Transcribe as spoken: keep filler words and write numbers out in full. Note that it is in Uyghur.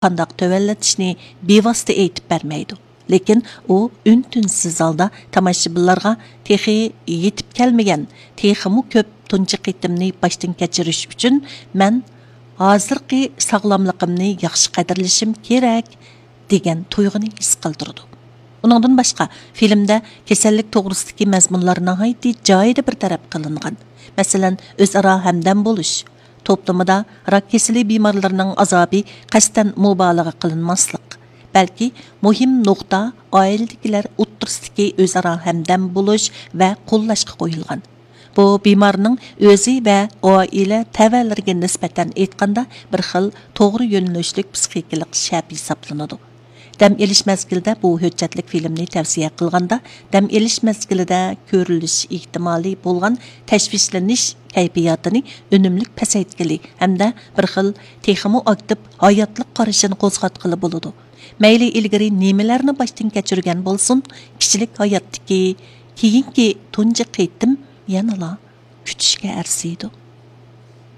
قانداق تۆۋەنلىتىشنى بىۋاسىتە ئېيتىپ بەرمەيدۇ. لېكىن ئۇ ئۈن-تىنسىز ھالدا تاماشىبىنلارغا تېخى يېتىپ كەلمىگەن، تېخىمۇ كۆپ تۇنجى قېتىمنى باشتىن كەچۈرۈش ئۈچۈن مەن ھازىرقى ساغلاملىقىمنى ياخشى قەدىرلىشىم كېرەك، دېگەن تۇيغۇنى ھېس قىلدۇرىدۇ. ئۇنىڭدىن باشقا، فىلىمدە كېسەللىك توغرىسىدىكى مەزمۇنلار ناھايىتى جايىدا بىر تەرەپ قىلىنغان. مەسىلەن، ئۆزئارا ھەمدەم بولۇش، توپلىمىدا راك كېسىلى بىمارلىرىنىڭ ئازابى قەستەن مۇبالىغە قىلىنماسلىق، بەلكى مۇھىم نۇقتا ئائىلىدىكىلەر ئوتتۇرىسىدىكى ئۆزئارا ھەمدەم بولۇش ۋە قوللاشقا قويۇلغان. بۇ بىمارنىڭ ئۆزى ۋە ئائىلە تەۋەلىرىگە نىسبەتەن ئېيتقاندا، بىر خىل توغرا يۆنىلىشلىك پسىخىكىلىق شەپ ھېسابلىنىدۇ. دەم ئېلىش مەزگىلىدە بۇ ھۆججەتلىك فىلىمنى تەۋسىيە قىلغاندا، دەم ئېلىش مەزگىلىدە كۆرۈلۈش ئېھتىمالى بولغان تەشۋىشلىنىش كەيپىياتىنى ئۈنۈملۈك پەسەيتكىلى ھەمدە بىر خىل تېخىمۇ ئاكتىپ ھاياتلىق قارىشىنى قوزغاتقىلى بولىدۇ. مەيلى ئىلگىرى نېمىلەرنى باشتىن كەچۈرگەن بولسۇن، كىشىلىك ھاياتتىكى كېيىنكى تۇنجى قېتىم يەنىلا كۈتۈشكە ئەرزىيدۇ.